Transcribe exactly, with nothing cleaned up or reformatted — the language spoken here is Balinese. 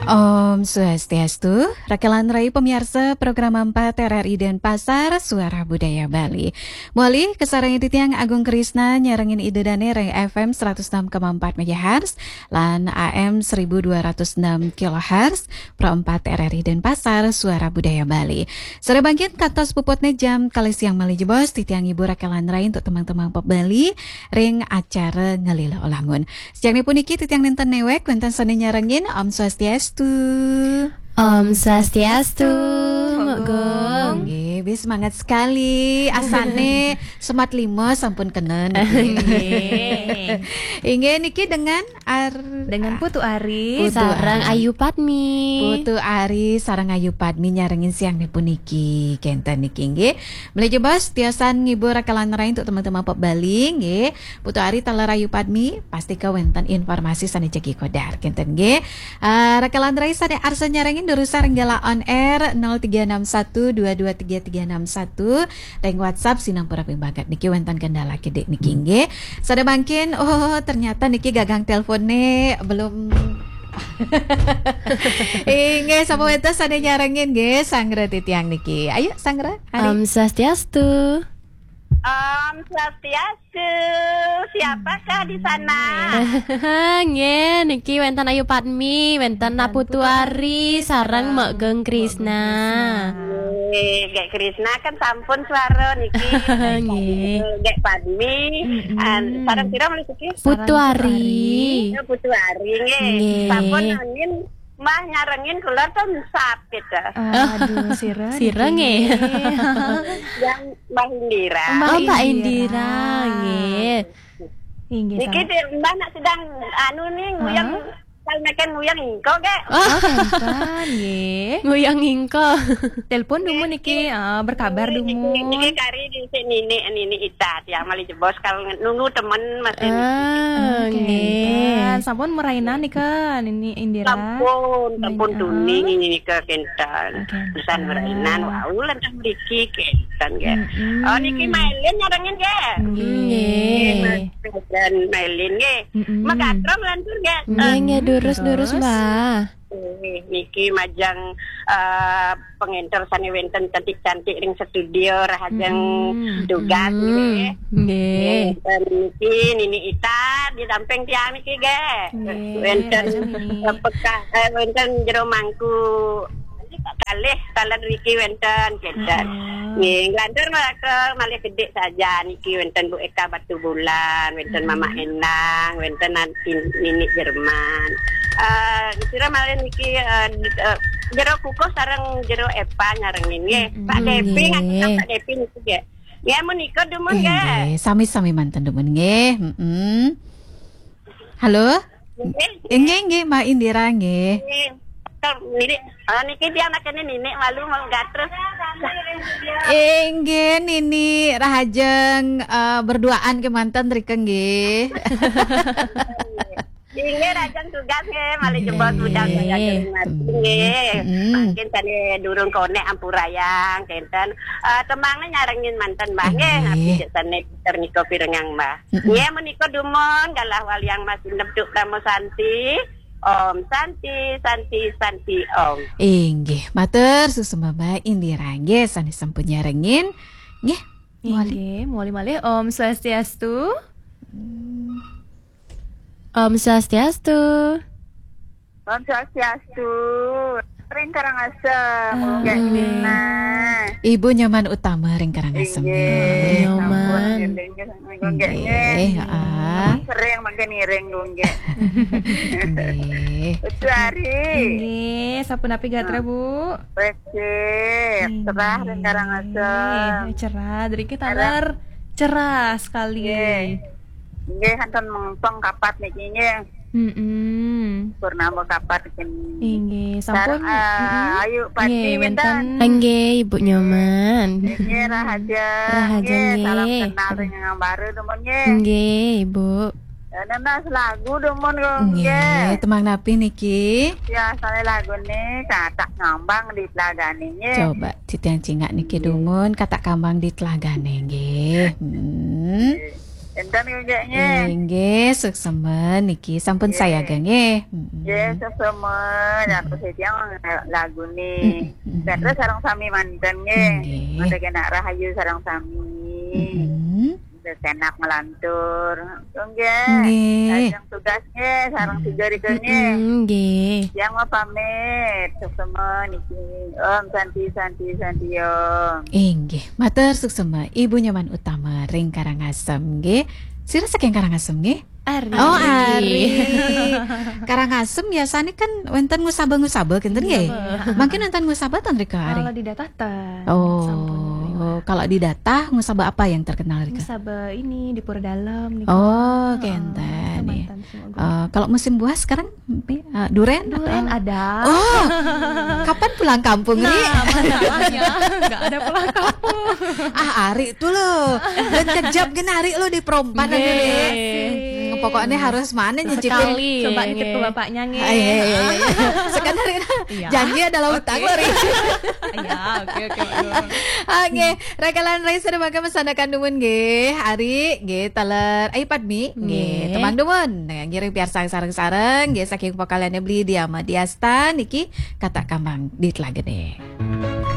Om Swastiastu, rakelan rai pamiarsa program empat R R I Denpasar, Suara Budaya Bali. Malih kasarengin titiang Agung Krisna nyarengin Ida Dane ring F M seratus enam koma empat megahertz lan A M seribu dua ratus enam kilohertz, Pro empat R R I Denpasar, Suara Budaya Bali. Sareng mangkin kantos puputne jam kalih siang malih jebos, titiang ngibur rakelan rai untuk tembang-tembang pop Bali ring acara Ngelila Olangun. Siang puniki titiang nenten newek, wenten sane nyarengin. Om Swastiastu. Om Swastiastu, Mbok Gung. Nggih, wis semangat sekali. Asane semat lima sampun kenen. Nggih. Inggih, niki dengan Ar- Dengan Putu Ari. Putu Sareng Ari. Ayu Padmi. Putu Ari sareng Ayu Padmi nyarengin siang puniki. Kenten niki nggih. Malih jebos tiosan ngibur rakelan rai untuk teman-teman pop Bali nggih. Putu Ari taler Ayu Padmi, pastika wenten informasi sane jagi kodar. Kenten nggih. Ah, rakelan rai sane arsa nyarengin durusang ring galah on air nol tiga enam satu dua dua tiga tiga enam satu. Ring WhatsApp sinampura pibagat niki wenten kendala kidik niki nggih. Sane mangkin, oh, ternyata niki gagang telpone belum. Inggih, sapa wenten sane nyarengin nggih, Sanggra titiang niki. Ayo, Sanggra, Ari. Om Swastiastu. Om Swastiastu. Siapakah di sana? Nggih, niki wenten Ayu Padmi, wenten Putu Ari sareng Mbok Gung Krisna. Nggih, Gek Krisna kan sampun suara niki. Nggih. Gek Padmi, mm-mm, an, sareng sira malih siki? Putu Ari. Ya, Putu Ari nggih. Nggih. Sampun angin Mbah nyarengin kula tonsap gitu. Aduh, sira sira niki nggih. Yang Mbah Indira. Mbah Oh, Mbak Indira. Indira, nggih. Inggih, niki sama. Di, Mbah nak sedang anu nih, nguyang, hah? Kalau makan nguyang ingko, Gek. Oh, kenten, nggih. Nguyang ingko. Telepon dumun niki, ah, berkabar dumun. Niki, niki kari di sini, nini, nini Ita, tiang malih jebos kalau nunggu temen masih. Ah, nggih. Sampun merainan nika, Nini Indira. Sampun, sampun tuni nika kenten. Pisan merainan, wau lantas mriki kenten, nggih. Mm-mm. Oh, niki Mailin nyarengin, nggih. Nggih. Nggih, Mas, dan Mailin, nggih. Mm-mm. Megatrong lantur, nggih. Nggih, nggih, durus, durus, Mbah. Eh, niki majeng, eh, pengenter sane wenten cantik-cantik ring studio, rahajeng tugas, nggih. Nggih. Nggih, wenten niki Nini Ita didamping tiang niki, nggih. Nggih, wenten, eh, peka-, eh, wenten jero mangku kalih taler niki wenten, kenten. Nggih, nglantur malih ke malih gedhe saja niki wenten Bu Eka Batubulan, wenten Mama Endang, wenten Nanti Nini Jerman. Eh, sira malih niki, eh, di-, eh, jero kukuh sareng jero Epa nyarengin nggih. Pak Depi, nggih, ngaten Pak Depi niki nggih. Nggih, menika dumun nggih. Nggih, sami-sami manten dumun nggih. Mm-mm. Halo? Nggih. Nggih, nggih, Mbak Indira nggih. Nggih. Niki, ah, niki dia anaknya Nini malu mau gatrus. Inggih, Nini rahajeng, eh, berduaan kemanten rika nggih. Inggih, rahajeng tugas nggih, malih jebos budal saya kering mati nggih. Mm-mm. Mangkin sane durung konek ampurayang kenten. Eh, tembangnya nyarengin manten Mbah nggih, napi cek sane Peter Niko pirengang Mbah. Mm-mm. Nggih, menika dumun galah waliang Mas Indep Duk Ramo Santi. Om Santi, Santi, Santi, Om. Inggih, matur suksma Mbak Indira nggih, sane sampun nyarengin. Nggih, malih. Inggih, malih malih. Om Swastiastu. Om Swastiastu. Om Swastiastu. Ring Karangasem, Gung Gek Krisna. Ibu Nyoman Utama ring Karangasem. Inggih, nggih. Nyoman. Sampun, nggih, nggih, nggih, nggih. Nggih, heeh. Sering mangke ngiring, Gung Gek. Nggih. Putu Ari. Inggih, sapunapi gatra, Bu? Becik, cerah ring Karangasem. Inggih, cerah. Driki taler cerah sekali. Nggih. Nggih, kantun mengpeng kapat niki nggih. Mm-mm. Purnama kapat niki. Inggih, sampun, mm-mm. Ayu Pati nggih, wenten. Inggih, Ibu Nyoman. Nggih, rahaja. Rahaja, nggih. Salam kenal ring yang baru dumun nggih. Nggih, Ibu. Ya, nenas lagu dumun kok nggih. Nggih, tembang napi niki? Ya, asale lagune Katak Ngambang di Telagane nggih. Coba titiang cingak niki dumun, Katak Kambang di Telagane nggih. Hmm. Nggih. Enten nggih, nggih. Inggih, suksma niki. Sampun sayaga nggih. Mm-mm. Nggih, suksma. Nah, terus tiang lagu nih. Mm-mm, mm-mm. Petrus sareng sami manten nggih. Nggih. Mangke kena rahayu sareng sami. Mm-mm. Terus enak melantur. Nggih. Nggih. Lajeng tugas nggih, sareng tiga rika nggih. Mm-mm, nggih. Tiang mau pamit. Suksma niki. Om Santi, Santi, Santi Om. Inggih, matur suksma Ibu Nyoman Utama ring Karangasem nggih. Sira saking Karangasem nggih? Ari. Oh, Ari. Karangasem biasanya kan wenten ngusaba-ngusaba kinten nggih. Iya, Bu. Mungkin wenten ngusaba ten rika Ari. Kalau di Datah ten. Oh, sampun, Bu. Kalau di Datah ngusaba apa yang terkenal rika? Ngusaba ini di Pura Dalam nih. Oh, heeh, kenten ya. Kecamatan Sumogong. Eh, kalau musim buah sekarang eh, duren? Duren atau? Ada. Oh, kapan pulang kampung, Ri? Nah, masalahnya nggak ada pulang kampung. Ah, Ari tuh lo. Dan kejap gen Ari lo di perompan aja, Ri. Nggih. Hmm, pokoknya harus mana nyicipin. Sekali. Coba nitip ke bapaknya, nggih. Ah, iya, iya, iya, iya. Sekedar itu. Iya. Janji adalah utang, Ri. Iya, oke, oke, Pak Nur. Oke, rakalan rai sudah makan pesan akan dumun nggih. Ari nggih, taler. Ai Padmi nggih, nggih. Teman dumun. Nah, ngiring piarsang sareng-sareng nggih saking pokalane Beli Diama Diasta niki kata kambang di Telagene.